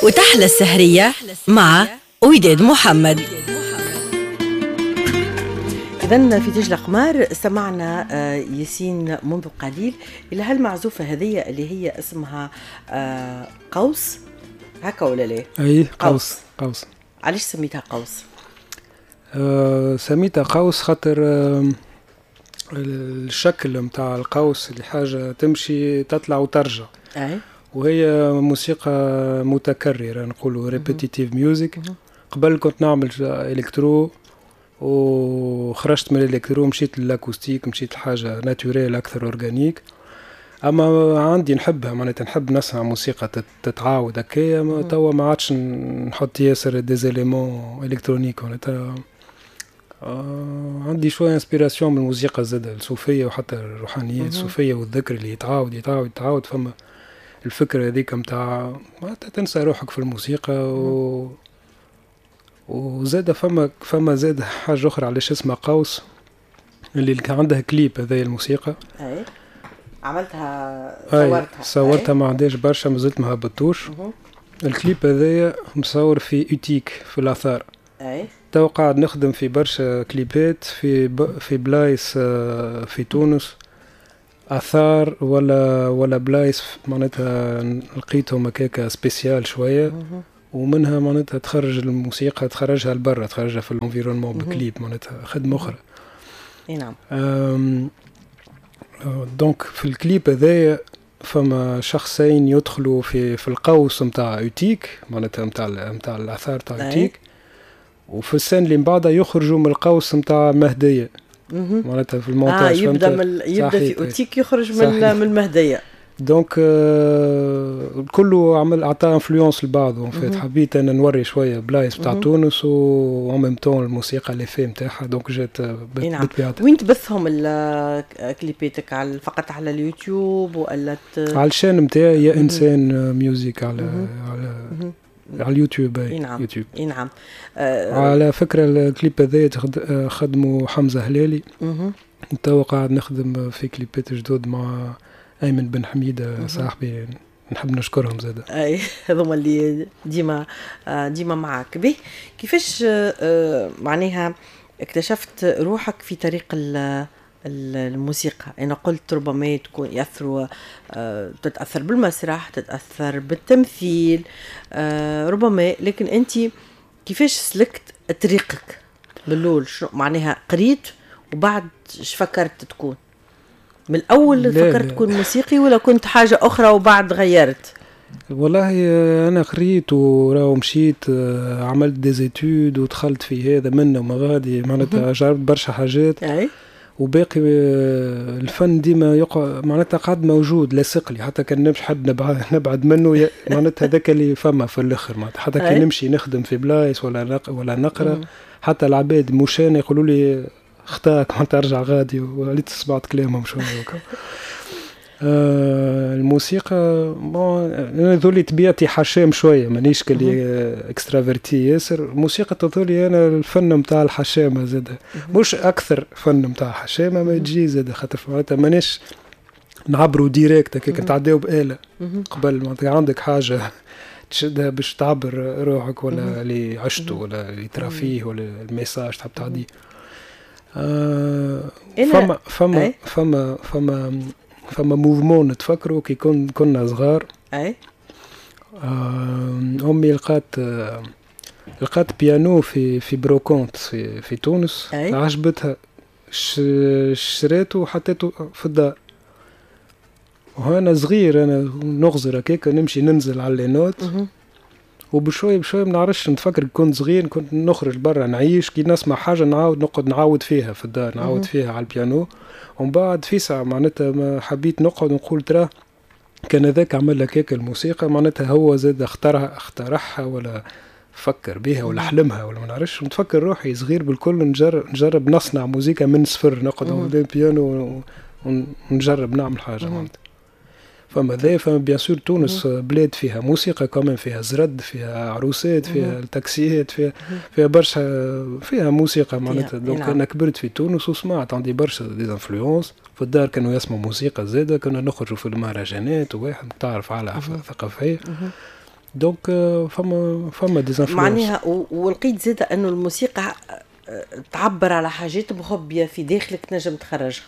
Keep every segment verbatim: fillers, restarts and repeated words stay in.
وتحلى السهرية مع وداد محمد. إذن في تاج الأقمار سمعنا آه، ياسين منذ قليل إلى هالمعزوفة هذه اللي هي اسمها آه، قوس، هكا ولا لا؟ أي، قوس قوس. علاش سميتها قوس؟ آه سميتها قوس خاطر آه الشكل متاع القوس اللي حاجة تمشي تطلع وترجع. أي. وهي موسيقى متكررة، نقولوا répétitive music. قبل كنت نعمل électro وخرجت من ال électro، مشيت لل acoustique، مشيت لحاجة naturelle اكثر، organique. اما عندي نحبها، معناتها نحب نسمع موسيقى تتعاود هكايا. توا ما عادش نحط ياسر des éléments électroniques. معناتها آه عندي شوية inspiration من الموسيقى زاد الصوفية وحتى الروحانيات الصوفية والذكر اللي يتعاود يتعاود يتعاود. فما الفكرة هذيك متاع معناتها تنسى روحك في الموسيقى. و وزاد فما فما زاد حاجة أخرى علاش اسمها قوس، اللي كان عندها كليب هذه الموسيقى. أي، عملتها، صورتها؟ صورتها، ما عندهاش برشا، مازلت ما هبطوش. الكليب هذايا مصور في Utique، في الآثار. أي. تو قاعد نخدم في برشا كليبات في ب... في بلايص آه، في تونس، اثار ولا ولا بلايص معناتها لقيتهم هكاكا spécial شويه، ومنها معناتها تخرج الموسيقى، تخرجها لبرا، تخرجها في l'environnement ب clip، معناتها خدمة اخرى. اي نعم. donc في الكليب هذايا فما شخصين يدخلوا في في القوس نتاع Utique، معناتها نتاع نتاع الاثار تاع Utique، وفي ال scène اللي من بعدها يخرجوا من القوس نتاع مهديه، معناتها في المونتاج. آه يبدا من يبدا في Utique، يخرج من من المهديه. donc آه كله عمل عطى influence لبعضه. en fait حبيت انا نوري شوية بلايص بتاع تونس و en même temps الموسيقى l'effet نتاعها، donc جات. نعم. بالطبيعه. وين تبثهم كليباتك؟ على فقط على اليوتيوب ولا؟ على ال chaîne نتاعي، يا انسان music، على على على اليوتيوب. اي نعم. يوتيوب. اي نعم. آه على فكره، الكليب هذا خدمة حمزة هلالي. توا قاعد نخدم في كليبات جدد مع ايمن بن حميده صاحبي، نحب نشكرهم زاد. اي، هذوما اللي ديما ديما معاك. به، كيفاش آه، معناها اكتشفت روحك في طريق الموسيقى؟ انا قلت ربما تكون ياثروا آه، تتاثر بالمسرح، تتاثر بالتمثيل آه، ربما، لكن انت كيفاش سلكت طريقك بالاول؟ شنو معناها قريت وبعد اش فكرت تكون؟ من الاول فكرت تكون موسيقي ولا كنت حاجة اخرى وبعد غيرت؟ والله انا قريت وراو مشيت آه، عملت des études ودخلت في هذا منه وما غادي، معناتها جربت برشا حاجات. أي. وباقي آه، الفن ديما يقع معناتها قاعد موجود لاصق لي، حتى كان نمشي حد نبعد, نبعد منه، معناتها هذاك اللي فما في الاخر. معناتها حتى كي نمشي نخدم في بلايص ولا نق ولا نقرا، حتى العباد مشان يقولوا لي اخطاك، معناتها ارجع غادي، وليت سمعت كلامهم شويه. آه الموسيقى، bon، انا ذولي طبيعتي حشام شويه، مانيش كلي extraverti ياسر. الموسيقى تظهرلي انا الفن نتاع الحشامه زاد، مش اكثر فن نتاع الحشامه ما تجي زاد، خاطر معناتها مانيش نعبروا direct هكاك، نتعداو بآلة قبل. معناتها عندك حاجة تشدها باش تعبر روحك ولا اللي عشته ولا اللي ترى فيه ولا ال message تحب تعديه. آه فما فما فما فما فما mouvement نتفكروا كي كن كنا صغار. اي آه امي لقات آه لقات بيانو في في brocante في في تونس. أي. عجبتها، شريته وحطيته في الدار. وأنا صغير انا نغزر هكاك، نمشي ننزل على les notes وبشوي بشوي، ما نعرفش، نتفكر كنت صغير كنت نخرج برا نعيش، كي نسمع حاجة نعاود نقعد نعاود فيها في الدار، نعاود فيها على البيانو. ومن بعد في ساعة معناتها ما حبيت نقعد نقول ترى كان هذاك عمل لك هيك الموسيقى، معناتها هو زاد اختارها، اخترعها ولا فكر بها ولا حلمها ولا ما نعرفش. نتفكر روحي صغير بالكل نجرب نجرب نصنع موزيكا من صفر، نقعد قدام بيانو ونجرب نعمل حاجة معناتها. فما ذا فما bien sûr تونس بلاد فيها موسيقى كمان، فيها زرد، فيها عروسات، فيها التاكسيات، فيها فيها برشا، فيها موسيقى معناتها. donc نعم. انا كبرت في تونس وسمعت، عندي برشا des influences. في الدار كانوا يسمعوا موسيقى زاده، كنا نخرجوا في المهرجانات وواحد تعرف على ثقافيه. donc فما فما des influences. معناها ولقيت زاد انه الموسيقى آه، تعبر على حاجات مخبيه في داخلك تنجم تخرجها.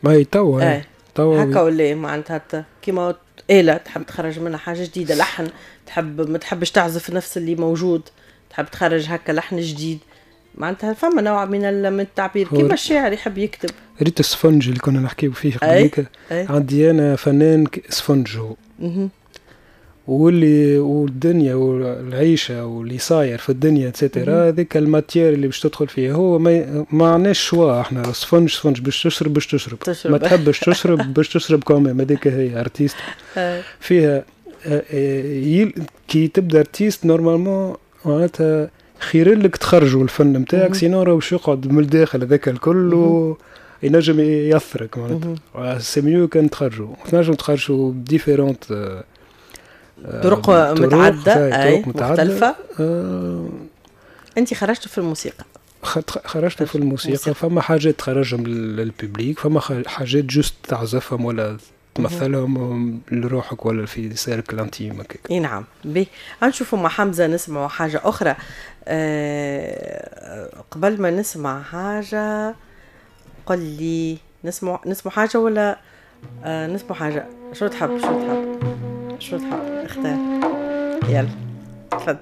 ما هي توا. ايه توا هكا ولا معناتها كيما آلة تحب تخرج منها حاجة جديدة، لحن تحب ما تحبش تعزف نفس اللي موجود، تحب تخرج هكا لحن جديد، معناتها فما نوع من من التعبير كيما الشاعر يحب يكتب. ريت السفنج اللي كنا نحكيو فيه قبليك، عندي انا فنان سفنج هو، واللي والدنيا والعيشه واللي صاير في الدنيا et cetera، هذيك ال matière اللي باش تدخل فيها هو ما, ما عندناش choix احنا، sponge sponge باش تشرب باش تشرب, تشرب. ما تحبش تشرب باش تشرب quand même، هذيك هي artiste فيها. آه، آه، كي تبدا artiste normalement معناتها خير لك تخرجوا الفن نتاعك، sinon راه باش يقعد من الداخل هذاك الكل و ينجم يأثرك معناتها. c'est mieux كان تخرجوا، تنجم تخرجوا différentes طرق متعددة، أي مختلفة. آه أنت خرجت في الموسيقى. خرجت في الموسيقى. فما حاجات تخرجهم لل public، فما حاجات juste تعزفهم ولا تمثلهم لروحك ولا في cercle intime. اي نعم. باهي، نشوفوا مع حمزة نسمعوا حاجة اخرى. أه قبل ما نسمع حاجه، قل لي نسمع نسمع حاجة ولا أه نسمع حاجه؟ شو تحب؟ شو تحب؟ شو تحب؟ اختار، يلا تفضل.